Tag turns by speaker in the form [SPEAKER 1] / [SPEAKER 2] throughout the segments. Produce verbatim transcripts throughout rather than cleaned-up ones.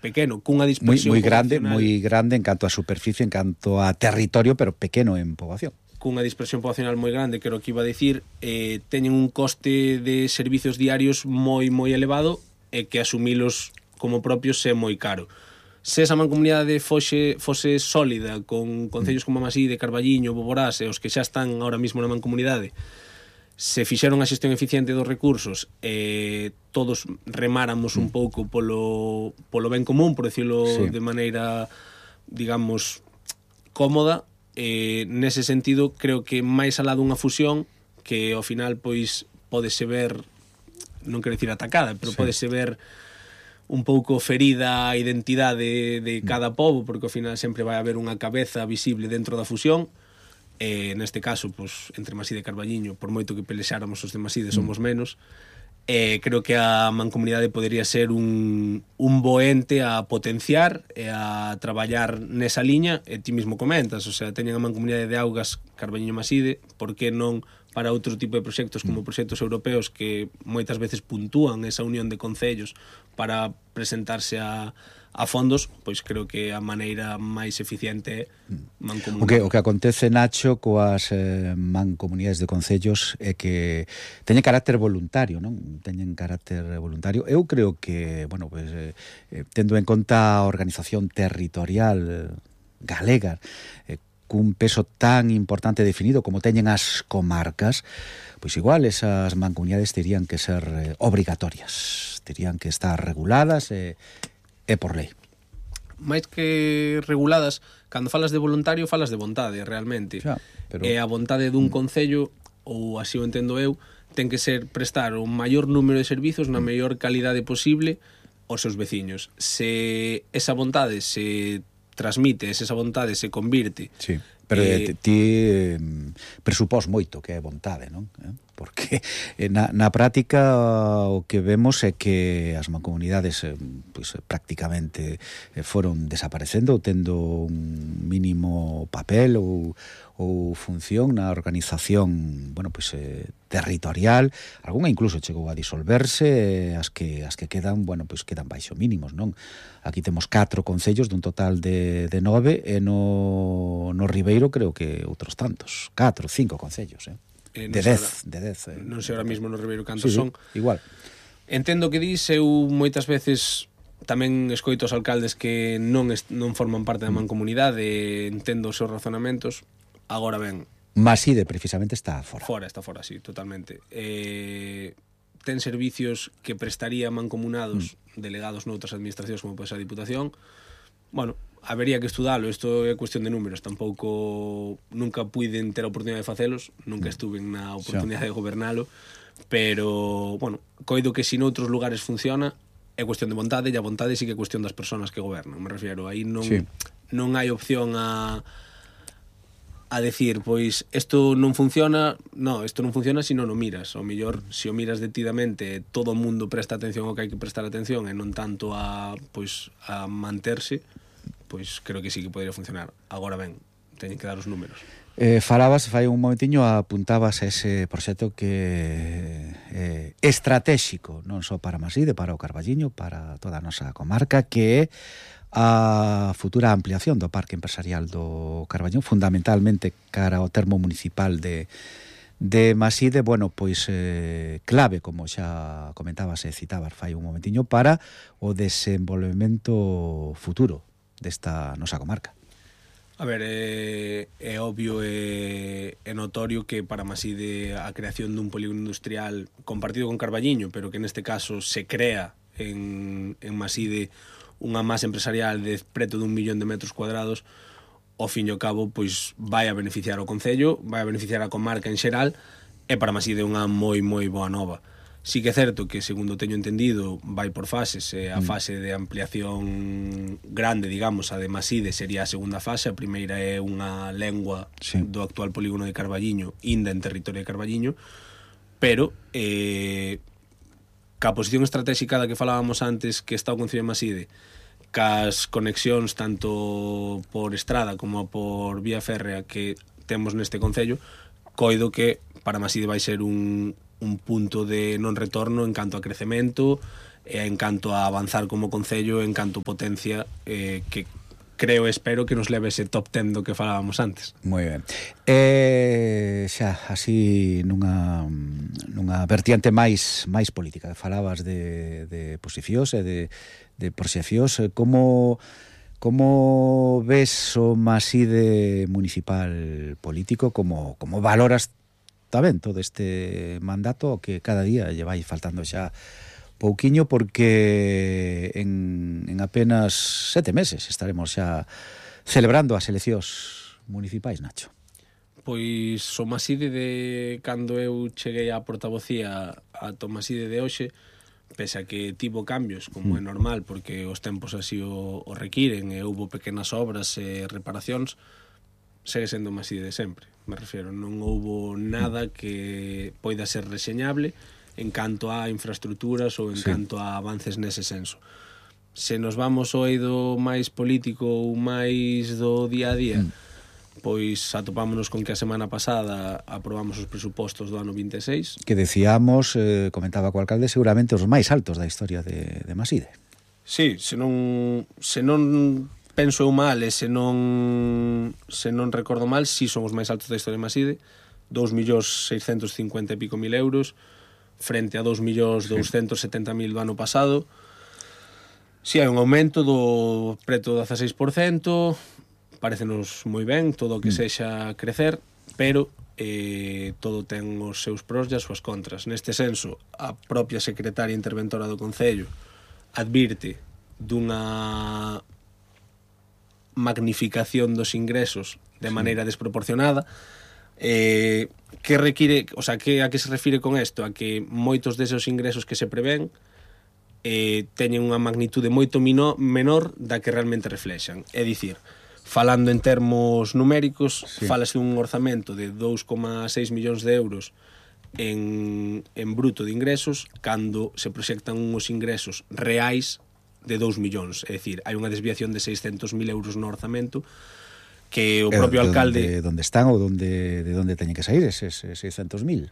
[SPEAKER 1] pequeno, cunha
[SPEAKER 2] moi,
[SPEAKER 1] dispersión
[SPEAKER 2] moi grande,
[SPEAKER 1] poblacional,
[SPEAKER 2] moi grande en canto a superficie, en canto a territorio, pero pequeno en poboación.
[SPEAKER 1] Cunha dispersión poblacional moi grande, que era o que iba a dicir, eh, teñen un coste de servicios diarios moi moi elevado e que asumilos como propios é moi caro. Se esa mancomunidade fose, fose sólida, con concellos como Maside, Carballiño, Boborás e os que xa están ahora mismo na mancomunidade, se fixeron a xestión eficiente dos recursos e eh, todos remáramos un pouco polo, polo ben común, por decirlo sí. de maneira, digamos, cómoda, eh, nese sentido creo que máis alá dunha fusión que ao final pois pódese ver, non quero dicir atacada, pero sí. pódese ver un pouco ferida a identidade de cada pobo, porque ao final sempre vai haber unha cabeza visible dentro da fusión. Eh, neste caso, pues, entre Maside e Carballiño, por moito que pelexáramos os de Maside somos menos, eh, creo que a mancomunidade podería ser un, un bo ente a potenciar e a traballar nesa liña, e ti mismo comentas, o sea, teñen a mancomunidade de augas Carballiño-Maside, por que non para outro tipo de proxectos como proxectos europeos que moitas veces puntúan esa unión de concellos para presentarse a, a fondos, pois creo que a maneira máis eficiente é mancomunidade.
[SPEAKER 2] O que, o que acontece, Nacho, coas eh, mancomunidades de concellos é que teñen carácter voluntario, non? Teñen carácter voluntario. Eu creo que, bueno, pues, eh, tendo en conta a organización territorial galega, eh, cun peso tan importante definido como teñen as comarcas, pois igual esas mancomunidades terían que ser eh, obrigatorias, terían que estar reguladas e, e por lei.
[SPEAKER 1] máis que reguladas, cando falas de voluntario falas de vontade, realmente.
[SPEAKER 2] Xa, pero...
[SPEAKER 1] E a vontade dun concello, ou así o entendo eu, ten que ser prestar o maior número de servizos na mellor calidade posible aos seus veciños. Se esa vontade se transmite, se esa vontade se convirte...
[SPEAKER 2] Sí, pero eh, ti eh, presupós moito que é vontade, non? Eh? Porque na, na práctica o que vemos é que as mancomunidades eh, pues, prácticamente eh, foron desaparecendo ou tendo un mínimo papel ou, ou función na organización, bueno, pues, eh, territorial. Algúnha incluso chegou a disolverse, as que as que quedan, bueno, pues quedan baixo mínimos, non? Aquí temos catro concellos dun total de, de nove e no, no Ribeiro creo que outros tantos, catro, cinco concellos, eh?
[SPEAKER 1] Eh,
[SPEAKER 2] de dez, de dez. Eh.
[SPEAKER 1] Non sei ahora mismo no Ribeiro cantos
[SPEAKER 2] sí,
[SPEAKER 1] son.
[SPEAKER 2] Sí, igual.
[SPEAKER 1] Entendo que dis, eu moitas veces tamén escoito os alcaldes que non est, non forman parte da mancomunidade, entendo os seus razonamentos. Agora ben,
[SPEAKER 2] Maside precisamente está fora.
[SPEAKER 1] Fora, está fora, sí, totalmente. Eh, ten servicios que prestaría mancomunados mm. delegados noutras administracións como pode ser a Diputación. Bueno, habería que estudalo, isto é cuestión de números, tampouco nunca puiden ter a oportunidade de facelos, nunca estuve na oportunidade de gobernalo, pero, bueno, coido que se noutros lugares funciona, é cuestión de vontade, e a vontade sí que é cuestión das persoas que gobernan, me refiero, aí non, sí. non hai opción a a decir, pois, isto non funciona, no, isto non funciona se non o miras, ao mellor, se o miras detidamente, todo o mundo presta atención ao que hai que prestar atención e non tanto a, pois, a manterse, pois creo que sí que podría funcionar. Agora ben, teñen que dar os números.
[SPEAKER 2] Eh, falabas, fai un momentiño, apuntabas a ese proxecto que é eh, estratégico, non só para Maside, para o Carballiño, para toda a nosa comarca, que é a futura ampliación do parque empresarial do Carballiño, fundamentalmente cara ao termo municipal de, de Maside, bueno, pois eh, clave, como xa comentabas e citabas fai un momentiño, para o desenvolvemento futuro desta nosa comarca.
[SPEAKER 1] A ver, é, é obvio e é notorio que para Maside a creación dun polígono industrial compartido con Carballiño, pero que neste caso se crea en, en Maside unha masa empresarial de preto dun millón de metros cuadrados, ao fin e ao cabo, pois vai a beneficiar o concello, vai a beneficiar a comarca en xeral, e para Maside unha moi, moi boa nova. Sí que é certo que, segundo teño entendido, vai por fases, e a fase de ampliación grande, digamos, a de Maside sería a segunda fase, a primeira é unha lengua sí. do actual polígono de Carballiño, inda en territorio de Carballiño, pero eh, ca posición estratégica da que falábamos antes que está o Concello de Maside, cas conexións tanto por estrada como por vía férrea que temos neste concello, coido que para Maside vai ser un, un punto de non retorno en canto a crecemento e en canto a avanzar como concello, en canto potencia, eh, que creo e espero que nos leve ese top ten do que falábamos antes.
[SPEAKER 2] Moi ben. Eh, xa, así nunha, nunha vertiente máis máis política, falabas de, de posicións e de, de proxeccións, como como ves o Maside municipal político, como, como valoras tamén todo este mandato que cada día lle vai faltando xa pouquiño, porque en, en apenas sete meses estaremos xa celebrando as eleccións municipais, Nacho.
[SPEAKER 1] Pois o Maside de cando eu cheguei á portavocía a Tomaside de hoxe, pese a que tivo cambios, como é normal, porque os tempos así o, o requiren, e houbo pequenas obras e reparacións, segue sendo o Maside de sempre. Me refiero, non houbo nada que poida ser reseñable en canto a infraestructuras ou en sí. canto a avances nese senso. Se nos vamos ao eido máis político ou máis do día a día, mm. pois atopámonos con que a semana pasada aprobamos os presupostos do ano vinte e seis.
[SPEAKER 2] Que decíamos, eh, comentaba co alcalde, seguramente os máis altos da historia de, de Maside.
[SPEAKER 1] Sí, se non, se non penso eu mal e se non, se non recordo mal, si son os máis altos da historia de Maside, dous millóns seiscentos cincuenta e pico mil euros, frente a dos millóns douscentos setenta mil do ano pasado. Si hai un aumento do preto do dezaseis por cento, parecenos moi ben todo o que sexa crecer, pero eh, todo ten os seus pros e as súas contras. Neste senso, a propia secretaria interventora do Concello advirte dunha magnificación dos ingresos de maneira desproporcionada. Eh, que require, o sea, que a que se refire con isto? A que moitos deses ingresos que se prevén eh, teñen unha magnitude moito mino, menor da que realmente reflexan. É dicir, falando en termos numéricos, sí. falase un orzamento de dous coma seis millóns de euros en, en bruto de ingresos, cando se proxectan uns ingresos reais de dous millóns. É dicir, hai unha desviación de seiscentos mil euros no orzamento, que o propio
[SPEAKER 2] de
[SPEAKER 1] alcalde...
[SPEAKER 2] De donde están ou donde, de donde teñen que sair eses seiscentos mil?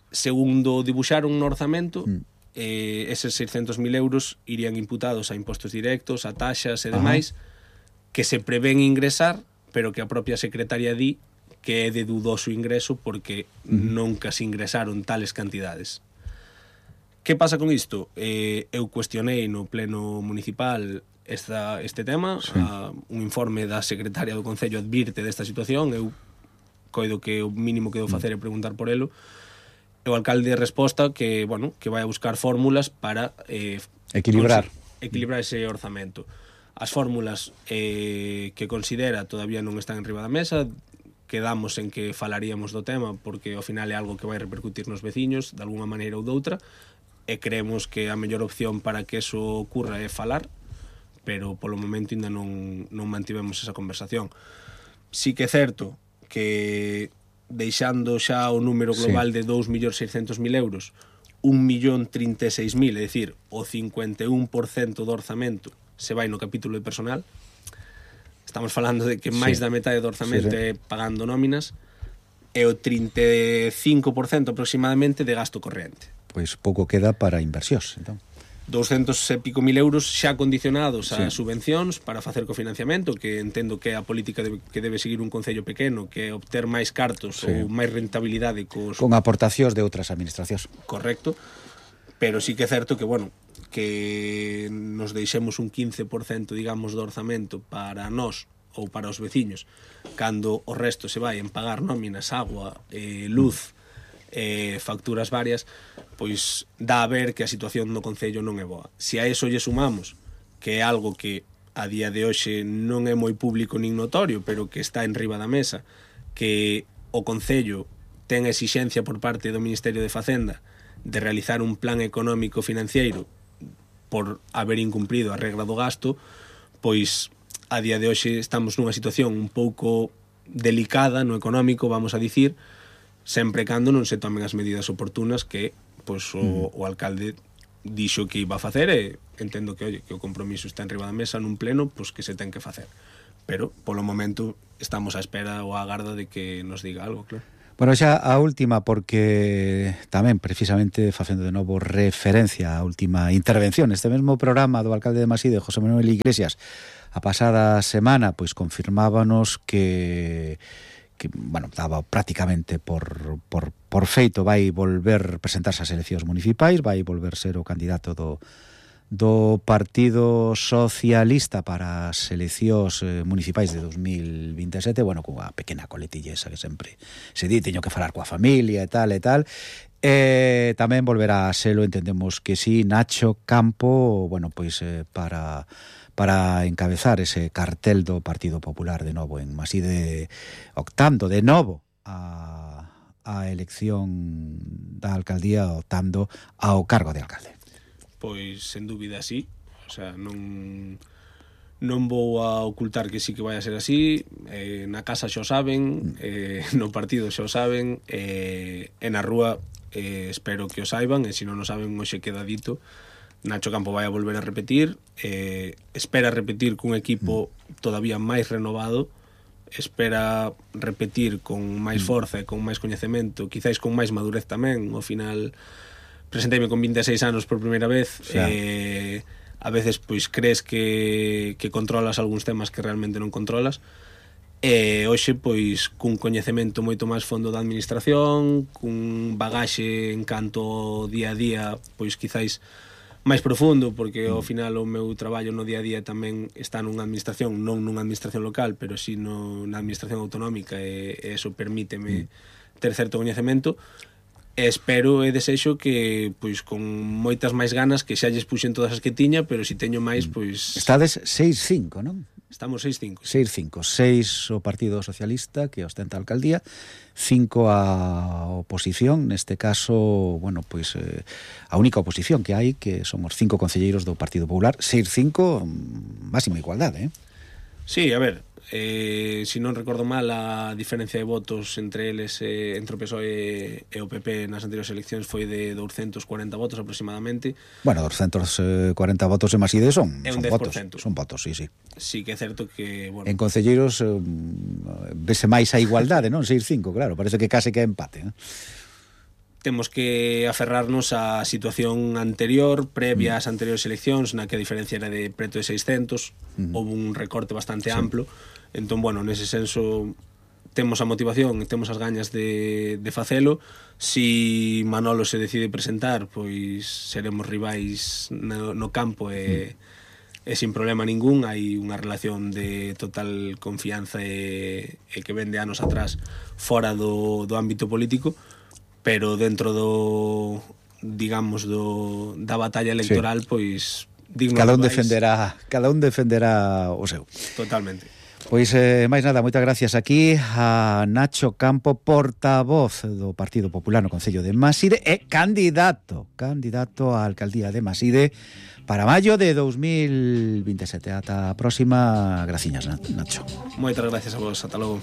[SPEAKER 1] Segundo dibuixaron no orzamento, mm. eh, eses seiscentos mil euros irían imputados a impostos directos, a taxas e demais, Ajá. que se prevén ingresar, pero que a propia secretaria di que é de dudoso ingreso porque mm. nunca se ingresaron tales cantidades. Que pasa con isto? Eh, eu cuestionei no pleno municipal esta, este tema, sí. a, un informe da secretaria do Concello advirte desta situación, eu coido que o mínimo que debo facer é preguntar por elo, e o alcalde resposta que, bueno, que vai a buscar fórmulas para eh,
[SPEAKER 2] equilibrar
[SPEAKER 1] equilibrar ese orzamento. As fórmulas eh, que considera todavía non están enriba da mesa, quedamos en que falaríamos do tema porque ao final é algo que vai repercutir nos veciños de alguna maneira ou doutra, e creemos que a mellor opción para que eso ocurra é falar, pero polo momento ainda non, non mantivemos esa conversación. Sí que é certo que deixando xa o número global sí. de dous millóns seiscentos mil euros, un millón trinta e seis mil, é dicir, o cincuenta e un por cento do orzamento se vai no capítulo de personal. Estamos falando de que máis sí. da metade do orzamento sí, sí. é pagando nóminas, e o trinta e cinco por cento aproximadamente de gasto corrente.
[SPEAKER 2] Pois pouco queda para inversións, entón.
[SPEAKER 1] douscentos e pico mil euros xa condicionados a
[SPEAKER 2] sí.
[SPEAKER 1] subvencións para facer cofinanciamento, que entendo que é a política de, que debe seguir un concello pequeno, que é obter máis cartos sí. ou máis rentabilidade cos...
[SPEAKER 2] con aportacións de outras administracións.
[SPEAKER 1] Correcto, pero sí que é certo que, bueno, que nos deixemos un quince por cento, digamos, do orzamento para nós ou para os veciños, cando o resto se vai en pagar nóminas, agua, eh, luz, eh, facturas varias, pois dá a ver que a situación no Concello non é boa. Se a eso lle sumamos que é algo que a día de hoxe non é moi público nin notorio, pero que está en riba da mesa, que o Concello ten a exixencia por parte do Ministerio de Facenda de realizar un plan económico financiero por haber incumprido a regra do gasto, pois a día de hoxe estamos nunha situación un pouco delicada no económico, vamos a dicir, sempre cando non se tomen as medidas oportunas que pois, o, o alcalde dixo que iba a facer, e entendo que, oye, que o compromiso está en riba da mesa nun pleno, pois que se ten que facer. Pero, polo momento, estamos á espera ou á garda de que nos diga algo, claro.
[SPEAKER 2] Bueno, xa a última, porque tamén precisamente facendo de novo referencia á última intervención este mesmo programa do alcalde de Maside, José Manuel Iglesias, a pasada semana, pois confirmábanos que que, bueno, daba prácticamente por, por, por feito vai volver presentarse ás eleccións municipais, vai volver ser o candidato do do Partido Socialista para as eleccións eh, municipais de dos mil vinte e sete, bueno, cunha pequena coletilla esa que sempre se di, teño que falar coa familia e tal e tal, e tamén volverá a selo, entendemos que sí, Nacho Campo, bueno, pois eh, para para encabezar ese cartel do Partido Popular de novo en Maside, optando de novo a, a elección da alcaldía, optando ao cargo de alcalde.
[SPEAKER 1] Pois, sen dúbida, sí. O sea, non non vou a ocultar que sí que vai a ser así. Eh, na casa xa o saben, eh, no partido xa o saben, eh, e na rúa eh, espero que o saiban, e se non o saben, hoxe queda dito. Nacho Campo vai a volver a repetir, eh, espera repetir cun equipo todavía máis renovado, espera repetir con máis forza e con máis coñecemento, quizáis con máis madurez tamén. Ao final presenteime con vinte e seis anos por primeira vez, eh, a veces pois crees que, que controlas algúns temas que realmente non controlas, e hoxe pois cun coñecemento moito máis fondo da administración, cun bagaxe en canto ao día a día pois quizáis máis profundo, porque ao final o meu traballo no día a día tamén está nunha administración, non nunha administración local, pero si no, na administración autonómica, e, e eso permíteme ter certo coñecemento. E espero e desexo que, pois, con moitas máis ganas, que xa lles puxen todas as que tiña, pero se teño máis, pois...
[SPEAKER 2] Estades seis cinco, non?
[SPEAKER 1] Estamos seis cinco.
[SPEAKER 2] seis cinco. seis o Partido Socialista, que ostenta a alcaldía, cinco a oposición, neste caso, bueno, pois, eh, a única oposición que hai, que somos cinco concelleiros do Partido Popular, seis cinco, máxima igualdade, eh?
[SPEAKER 1] Sí, a ver, eh, si non recordo mal, a diferencia de votos entre eles, eh, entre o P S O E e o P P nas anteriores eleccións foi de doscientos cuarenta votos aproximadamente.
[SPEAKER 2] Bueno, doscientos cuarenta votos en Maside son,
[SPEAKER 1] é un
[SPEAKER 2] son votos,
[SPEAKER 1] dez por cento.
[SPEAKER 2] son votos, sí, sí.
[SPEAKER 1] Sí que é certo que, bueno,
[SPEAKER 2] en concelleiros eh, vese máis a igualdade, non? seis cinco, claro, parece que case que é empate, eh?
[SPEAKER 1] Temos que aferrarnos á situación anterior, previa ás anteriores eleccións, na que a diferencia era de preto de seiscentos, uh-huh. houve un recorte bastante sí. amplo. Entón, bueno, nese senso temos a motivación, temos as gañas de, de facelo. Si Manolo se decide presentar, pois seremos rivais no, no campo e, uh-huh. e sin problema ningún. Hai unha relación de total confianza e, e que vende anos atrás fora do, do ámbito político, pero dentro do, digamos, do, da batalla electoral, sí. pois digno
[SPEAKER 2] cada un
[SPEAKER 1] de
[SPEAKER 2] defenderá, cada un defenderá o seu.
[SPEAKER 1] Totalmente.
[SPEAKER 2] Pois, eh, máis nada, moitas gracias aquí a Nacho Campo, portavoz do Partido Popular no Concello de Maside e candidato, candidato á alcaldía de Maside para maio de dos mil vinte e sete. Ata a próxima, graciñas, Nacho.
[SPEAKER 1] Moitas gracias a vos, ata logo.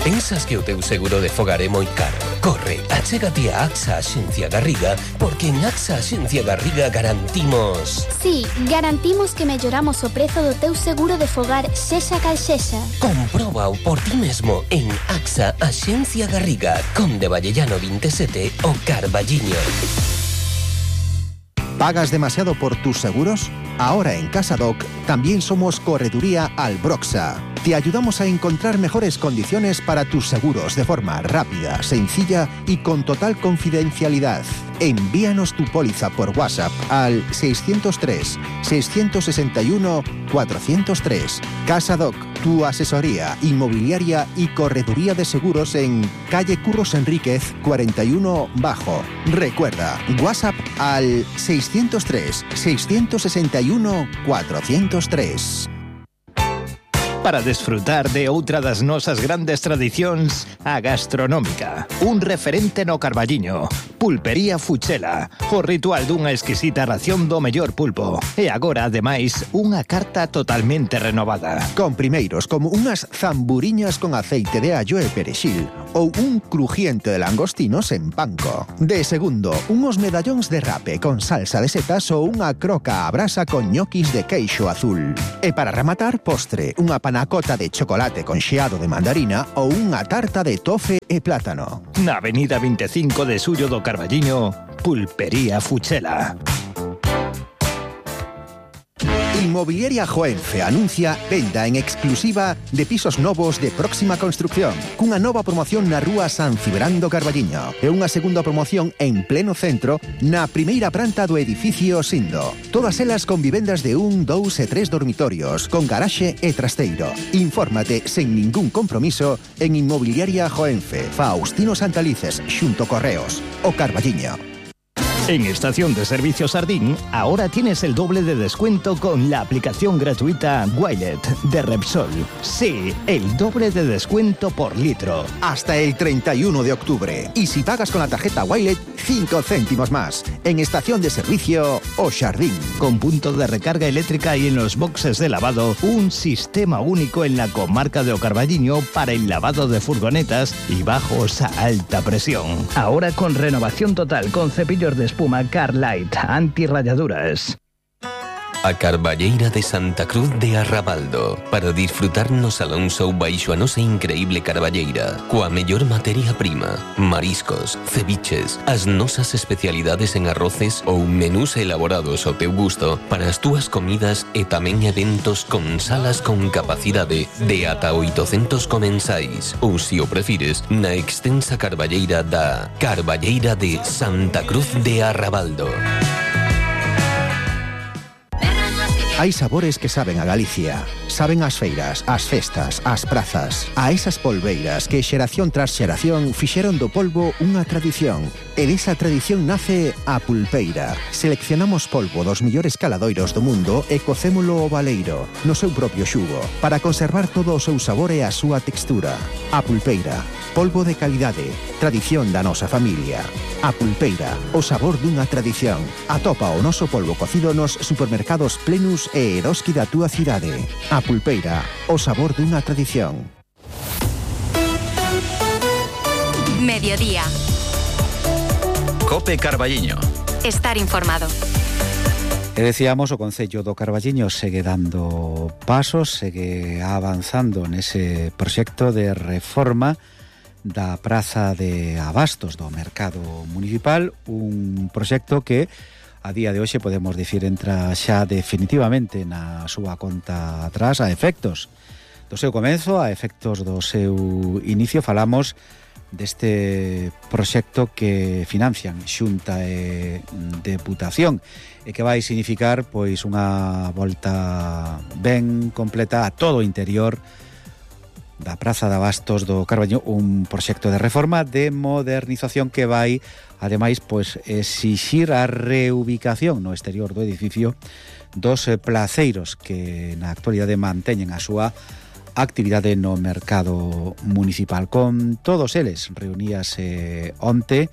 [SPEAKER 3] Pensas que o teu seguro de fogar é moi caro? Corre, achégate a AXA Axencia Garriga, porque en AXA Axencia Garriga garantimos...
[SPEAKER 4] Sí, garantimos que melloramos o prezo do teu seguro de fogar sexa cal sexa.
[SPEAKER 3] Compróbao por ti mesmo en AXA Axencia Garriga, Conde Vallellano veintisiete o Carballiño.
[SPEAKER 5] ¿Pagas demasiado por tus seguros? Ahora en CasaDoc también somos Correduría Albroxa. Te ayudamos a encontrar mejores condiciones para tus seguros de forma rápida, sencilla y con total confidencialidad. Envíanos tu póliza por WhatsApp al seiscientos tres, seiscientos sesenta y uno, cuatrocientos tres. CasaDoc, tu asesoría inmobiliaria y correduría de seguros en calle Curros Enríquez cuarenta y uno Bajo. Recuerda, WhatsApp al seiscientos tres, seiscientos sesenta y uno, cuatrocientos tres.
[SPEAKER 6] Para desfrutar de outra das nosas grandes tradicións, a gastronómica. Un referente no Carballiño. Pulpería Fuchela. O ritual dunha exquisita ración do mellor pulpo. E agora, ademais, unha carta totalmente renovada.
[SPEAKER 5] Con primeiros como unhas zamburiñas con aceite de allo e perexil, ou un crujiente de langostinos en panko. De segundo, unos medallóns de rape con salsa de setas ou unha croca a brasa con ñoquis de queixo azul. E para rematar, postre, unha panacota de chocolate con xeado de mandarina ou unha tarta de tofe e plátano.
[SPEAKER 6] Na Avenida veinticinco de Suyo do Carballiño, Pulpería Fuchela.
[SPEAKER 5] Inmobiliaria Joenfe anuncia venda en exclusiva de pisos novos de próxima construcción, cunha nova promoción na rúa San Cibrán do Carballiño e unha segunda promoción en pleno centro na primeira planta do edificio Sindo. Todas elas con vivendas de un, dous e tres dormitorios, con garaxe e trasteiro. Infórmate sen ningún compromiso en Inmobiliaria Joenfe, Faustino Santalices, xunto Correos, o Carballiño.
[SPEAKER 6] En Estación de Servicio Sardín, ahora tienes el doble de descuento con la aplicación gratuita Wilet de Repsol. Sí, el doble de descuento por litro.
[SPEAKER 5] Hasta el treinta y uno de octubre. Y si pagas con la tarjeta Wilet, cinco céntimos más. En Estación de Servicio O Sardín.
[SPEAKER 6] Con punto de recarga eléctrica y en los boxes de lavado, un sistema único en la comarca de O Carballiño para el lavado de furgonetas y bajos a alta presión. Ahora con renovación total, con cepillos de espuma Carlight, antirrayaduras.
[SPEAKER 3] A Carballeira de Santa Cruz de Arrabaldo, para disfrutar no Salón Show baixo a nosa increíble carballeira, coa mellor materia prima, mariscos, ceviches, as nosas especialidades en arroces ou menús elaborados ao teu gusto para as túas comidas e tamén eventos con salas con capacidade de ata oitocentos comensais ou, se o prefires, na extensa carballeira da Carballeira de Santa Cruz de Arrabaldo.
[SPEAKER 5] Hai sabores que saben a Galicia. Saben as feiras, as festas, as prazas. A esas polbeiras que xeración tras xeración fixeron do polvo unha tradición. E desa tradición nace a pulpeira. Seleccionamos polvo dos millores caladoiros do mundo e cocémolo ao baleiro, no seu propio xugo, para conservar todo o seu sabor e a súa textura. A pulpeira. Polvo de calidade. Tradición da nosa familia. A pulpeira. O sabor dunha tradición. Atopa o noso polvo cocido nos supermercados Plenus e Eroski da túa cidade. A pulpeira. O sabor dunha tradición.
[SPEAKER 7] Mediodía.
[SPEAKER 8] Cope Carballiño.
[SPEAKER 7] Estar informado.
[SPEAKER 2] E decíamos, o Concello do Carballiño segue dando pasos, segue avanzando nese proxecto de reforma da Praza de Abastos do Mercado Municipal, un proxecto que a día de hoxe podemos dicir entra xa definitivamente na súa conta atrás a efectos do seu comenzo, a efectos do seu inicio. Falamos deste proxecto que financian Xunta e Deputación e que vai significar pois unha volta ben completa a todo o interior da Praza de Abastos do Carballiño, un proxecto de reforma, de modernización que vai, ademais, pois exixir a reubicación no exterior do edificio dos placeiros que na actualidade manteñen a súa actividade no mercado municipal. Con todos eles reuníase onte,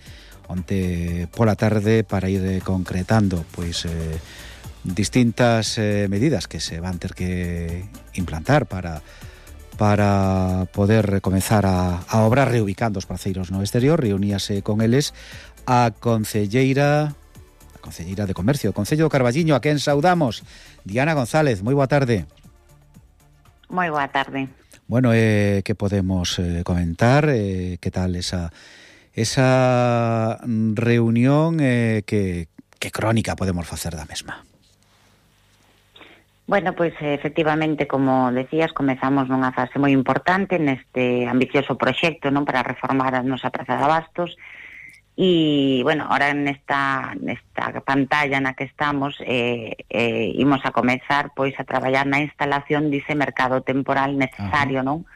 [SPEAKER 2] onte pola tarde para ir concretando pois eh, distintas eh, medidas que se van ter que implantar para para poder comenzar a, a obrar reubicando os placeiros no exterior. Reuníase con eles a concelleira a concelleira de Comercio do Concello do Carballiño, a quen saudamos, Diana González. Moi boa tarde.
[SPEAKER 9] Moi boa tarde.
[SPEAKER 2] Bueno, eh, que podemos eh, comentar? Eh, que tal esa esa reunión? Eh, que, que crónica podemos facer da mesma?
[SPEAKER 9] Bueno, pois efectivamente, como decías, comezamos nunha fase moi importante neste ambicioso proxecto, non, para reformar a nosa Praza de Abastos. E, bueno, ahora nesta, nesta pantalla na que estamos eh, eh, imos a comezar pois a traballar na instalación dese mercado temporal necesario, non,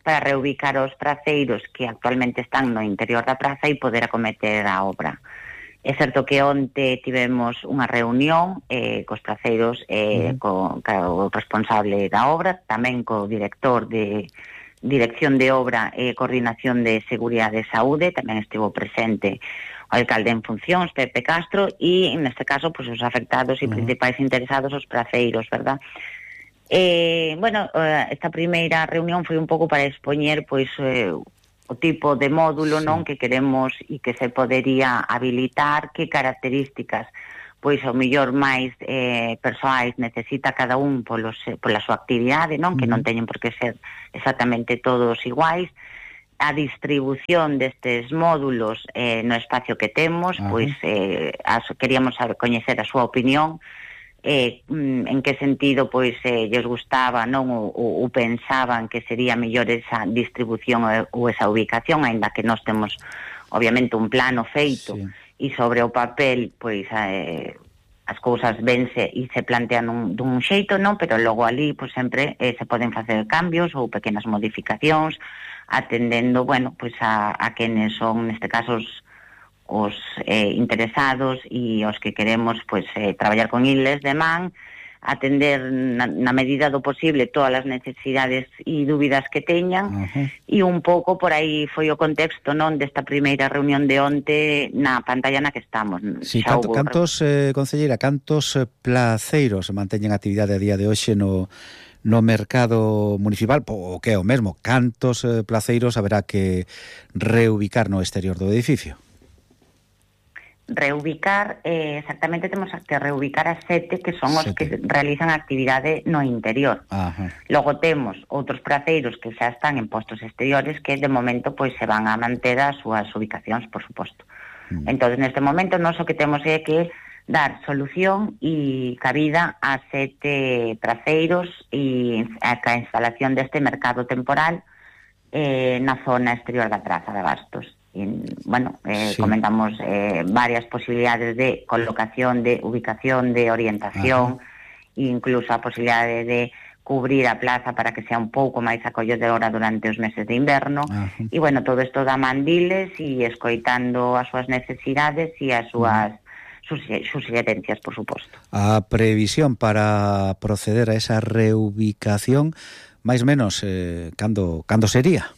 [SPEAKER 9] para reubicar os praceiros que actualmente están no interior da praza e poder acometer a obra. É certo que onte tivemos unha reunión eh, cos praceiros, eh, uh-huh. co, co responsable da obra, tamén co director de Dirección de Obra e Coordinación de Seguridade e Saúde, tamén estivo presente o alcalde en funcións, Pepe Castro, e neste caso pues, os afectados e uh-huh. principais interesados, os praceiros, verdad? Eh, bueno, esta primeira reunión foi un pouco para expoñer pois, eh, o tipo de módulo, non, que queremos e que se podería habilitar, que características pois ao mellor máis eh, persoais necesita cada un polos, pola súa actividade, non, que non teñen por que ser exactamente todos iguais, a distribución destes módulos eh, no espacio que temos. Ajá. Pois eh, as, queríamos saber, coñecer a súa opinión, eh, en que sentido pois eh, lles gustaba, non, ou, ou pensaban que sería mellor esa distribución ou esa ubicación, aínda que nós temos obviamente un plano feito, sí, e sobre o papel pois eh, as cousas vense e se plantean un, dun xeito, non, pero logo ali pois sempre eh, se poden facer cambios ou pequenas modificacións atendendo, bueno, pois a, a quenes son neste caso os os eh, interesados e os que queremos pois eh, traballar con iles de man, atender na, na medida do posible todas as necesidades e dúbidas que teñan. Uh-huh. E un pouco por aí foi o contexto, non, desta primeira reunión de onte na pantalla na que estamos.
[SPEAKER 2] Sí, canto, hubo... cantos, eh, concelleira, cantos placeiros manteñen actividade a día de hoxe no no mercado municipal, o que é o mesmo, cantos eh, placeiros haberá que reubicar no exterior do edificio?
[SPEAKER 9] Reubicar, eh, exactamente temos que reubicar a sete que son os sete. que realizan actividade no interior. Ajá. Logo temos outros praceiros que xa están en postos exteriores que de momento pois se van a manter as súas ubicacións, por suposto. Mm. Entón, neste momento, nós o que temos é que dar solución e cabida a sete praceiros e a a instalación deste mercado temporal eh, na zona exterior da Praza de Abastos. Y, bueno, eh, sí. comentamos eh, varias posibilidades de colocación, de ubicación, de orientación. Ajá. E incluso a posibilidade de cubrir a plaza para que sea un pouco máis acolledora durante os meses de inverno. Ajá. E, bueno, todo isto da mandiles e escoitando as súas necesidades e as súas sus, sus sugerencias, por suposto.
[SPEAKER 2] A previsión para proceder a esa reubicación, máis menos, eh, cando, cando sería?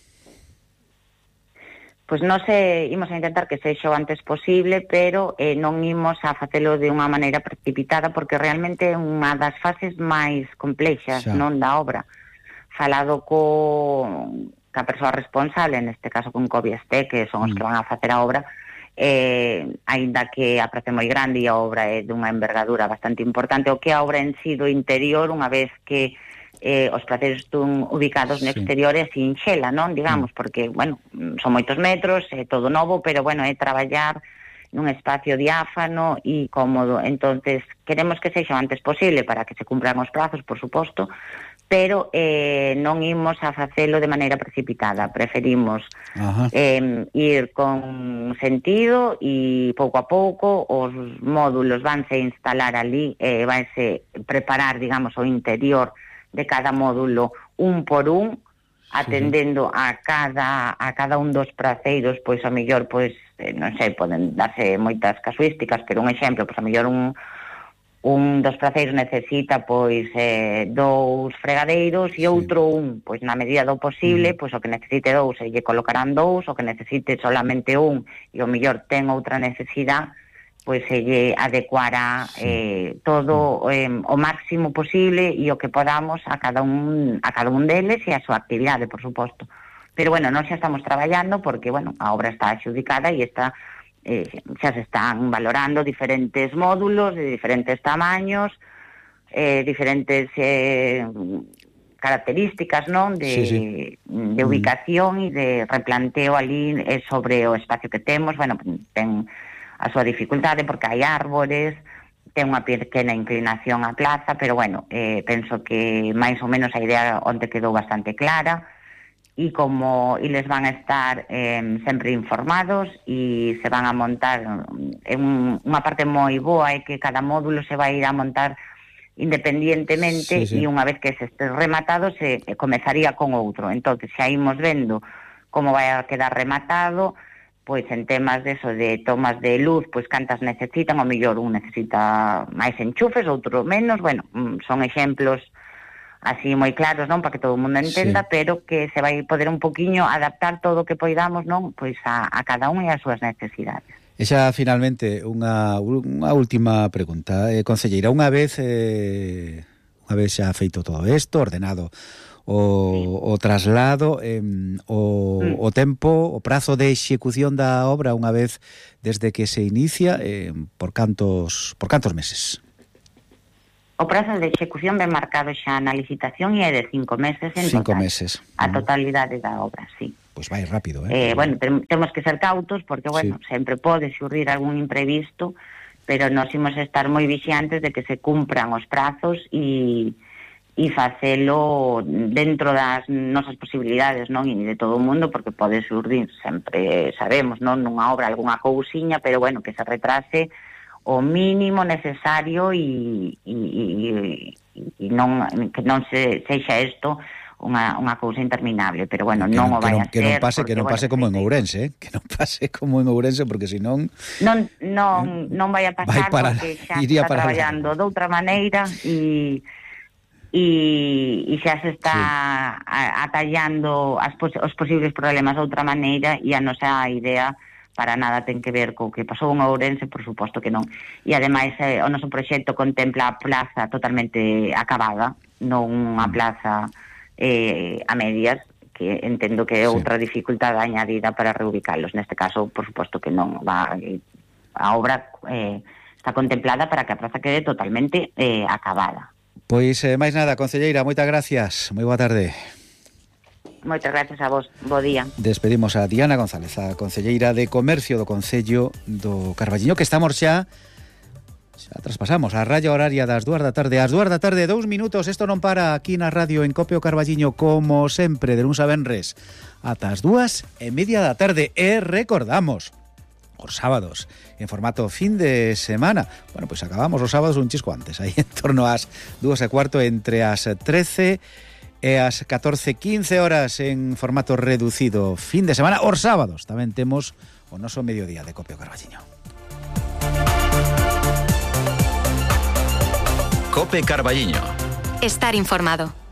[SPEAKER 9] Pois nós eh, imos a intentar que sexa o antes posible, pero eh, non imos a facelo de unha maneira precipitada, porque realmente é unha das fases máis complexas, xa, non, da obra. Falado co ca persoa responsable, neste caso con Covieste, que son os mm. que van a facer a obra, eh, aínda que a praza é moi grande e a obra é dunha envergadura bastante importante, o que a obra en si do interior, unha vez que Eh, os praceiros están ubicados no exterior é sinxela, non, digamos, porque, bueno, son moitos metros, é todo novo, pero, bueno, é traballar nun espacio diáfano e cómodo. Entonces, queremos que sexa o antes posible para que se cumpran os prazos, por suposto, pero eh, non imos a facelo de maneira precipitada. Preferimos eh, ir con sentido e pouco a pouco os módulos vanse instalar ali, eh, vanse preparar, digamos, o interior de cada módulo un por un, atendendo sí. a cada a cada un dos praceiros, pois a mellor, pois, eh, non sei, poden darse moitas casuísticas, pero un exemplo, pois a mellor un un dos praceiros necesita, pois, eh, dous fregadeiros e outro sí. un, pois na medida do posible, mm. pois o que necesite dous, e lle colocarán dous, o que necesite solamente un, e o mellor ten outra necesidade, pois se lle adecuará eh, todo eh, o máximo posible e o que podamos a cada un a cada un deles e a súa actividade, por suposto. Pero, bueno, nós xa estamos traballando porque, bueno, a obra está adxudicada e está, eh, xa se están valorando diferentes módulos de diferentes tamaños, eh, diferentes eh, características, non, de, sí, sí. de ubicación e de replanteo ali eh, sobre o espacio que temos. Bueno, ten a súa dificultade porque hai árbores, ten unha pequena inclinación a plaza, pero, bueno, eh, penso que máis ou menos a idea onde quedou bastante clara, e como eles van a estar eh, sempre informados e se van a montar en un, unha parte moi boa é que cada módulo se vai ir a montar independientemente, sí, sí. e unha vez que se este rematado se comezaría con outro. Entón, xa imos vendo como vai a quedar rematado, pois en temas de eso, de tomas de luz, pois cantas necesitan, o mellor un necesita máis enchufes, outro menos, bueno, son exemplos así moi claros, non, para que todo o mundo entenda, sí. pero que se vai poder un poquinho adaptar todo o que poidamos, non, pois a, a cada un e as súas necesidades.
[SPEAKER 2] E xa, finalmente, unha, unha última pregunta, eh, concelleira, unha vez eh, unha vez xa feito todo isto, ordenado o, o traslado, eh, o, mm. o tempo, o prazo de execución da obra unha vez desde que se inicia, eh, por cantos por cantos meses?
[SPEAKER 9] O prazo de execución ben marcado xa na licitación e é de cinco meses en
[SPEAKER 2] cinco
[SPEAKER 9] total.
[SPEAKER 2] meses.
[SPEAKER 9] A totalidade da obra, sí.
[SPEAKER 2] Pois vai rápido, eh?
[SPEAKER 9] eh bueno, tem, temos que ser cautos porque, bueno, sí. sempre pode xurdir algún imprevisto, pero nós imos estar moi vixiantes de que se cumpran os prazos e e facelo dentro das nosas posibilidades, non? E de todo o mundo, porque pode xurdir, sempre sabemos, non? Nunha obra algunha cousiña, pero, bueno, que se retrase o mínimo necesario e, e, e, e non, que non se sexa isto unha, unha cousa interminable, pero bueno,
[SPEAKER 2] que
[SPEAKER 9] non,
[SPEAKER 2] non
[SPEAKER 9] o vai
[SPEAKER 2] a
[SPEAKER 9] ser.
[SPEAKER 2] Que non pase, porque, que non pase bueno, como en Ourense, eh? Que non pase como en Ourense, porque senón
[SPEAKER 9] non non non vai a pasar, vai para, porque xa está traballando de outra maneira e e, e xa se está sí. atallando as, os posibles problemas de outra maneira, e a nosa idea para nada ten que ver co que pasou en Ourense, por suposto que non. E ademais eh, o noso proxecto contempla a plaza totalmente acabada, non unha plaza eh, a medias, que entendo que é outra sí. dificultade añadida para reubicarlos. Neste caso, por suposto que non va, a obra eh, está contemplada para que a plaza quede totalmente eh, acabada.
[SPEAKER 2] Pois, eh, máis nada, concelleira, moitas gracias. Moi boa tarde.
[SPEAKER 9] Moitas gracias a vos. Bo día.
[SPEAKER 2] Despedimos a Diana González, a concelleira de Comercio do Concello do Carballiño, que estamos xa xa traspasamos a raya horaria das dúas da tarde. Ás dúas da tarde, dous minutos. Isto non para aquí na radio en Copio Carballiño, como sempre, de luns a venres ata as dúas e media da tarde. E recordamos, os sábados, en formato fin de semana. Bueno, pois acabamos os sábados un chisco antes, aí en torno ás dúas e cuarto, entre as trece e as catorce quince horas en formato reducido fin de semana. Os sábados tamén temos o noso mediodía de Copio Carballiño.
[SPEAKER 8] Cope Carballiño.
[SPEAKER 7] Estar informado.